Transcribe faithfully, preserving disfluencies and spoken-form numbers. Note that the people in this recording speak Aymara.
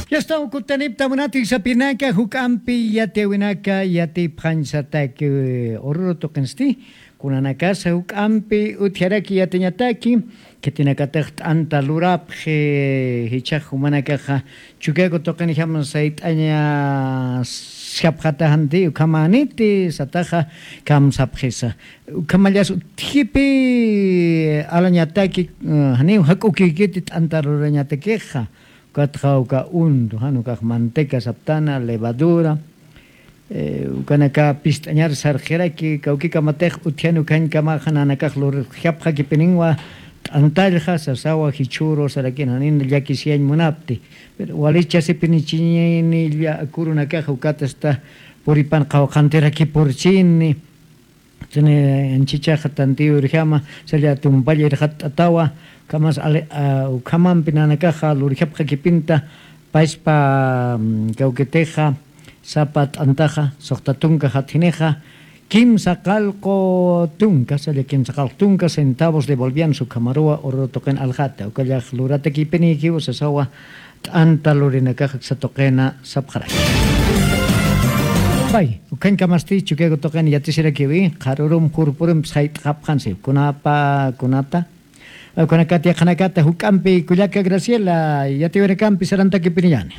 Yastaw kutanipta munati sapinaka juk'ampi yatiwinaka yatipxañsataki ururu tuqinsti. Kunanakasa juk'ampi utjaraki yatiñataki, khitinakatix t'anta lurapxi jichhax jumanakaxa. Chukiaku tuqinjam sayt'aña skhapxatajanti ukhamaniti sataxa. Kamsapxisa ukhamallas utjipi alañataki. Janiw jak'ukikiti t'anta lurañatakixa. Ukatxa uka untu jan ukax manteca saptana levadura. Ukanaka pist'añar sarxiraki kawkikamatix utjian ukhañkamaxa nanakax lurjapxakipiniwa. T'antallxa sasawa jichhuru sarakin janin llakisiyañ munapti. Pero walichasipinichiñini llakurunakaxa ukatasta puripan qawqantirakipurchini. Tini anchichaxa tantiyu urjama salla tumpalla irxatt'atawa. Ukhamas ukhamampi nanakaxa lurjapxakipinta payspa kawkitixa sapa t'antaxa suxta tunka jatjinixa kimsa qallqu tunka salla kimsa qallqu tunka centavos devolvian sukhamaruwa ururu tuqin aljata ukallax luratakipiniykiw sasawa. T'anta lurinakax aksa tuqina sapxaraki. Pay ukhañkamasti chukiaku tuqin yatisirakiwi qharurum jurpurumpis jayt'xapxansi kunapa kunata. Kunakata yaqhanakata juk'ampi kullaka graciela yatiwirakampi sarantakipiniñani.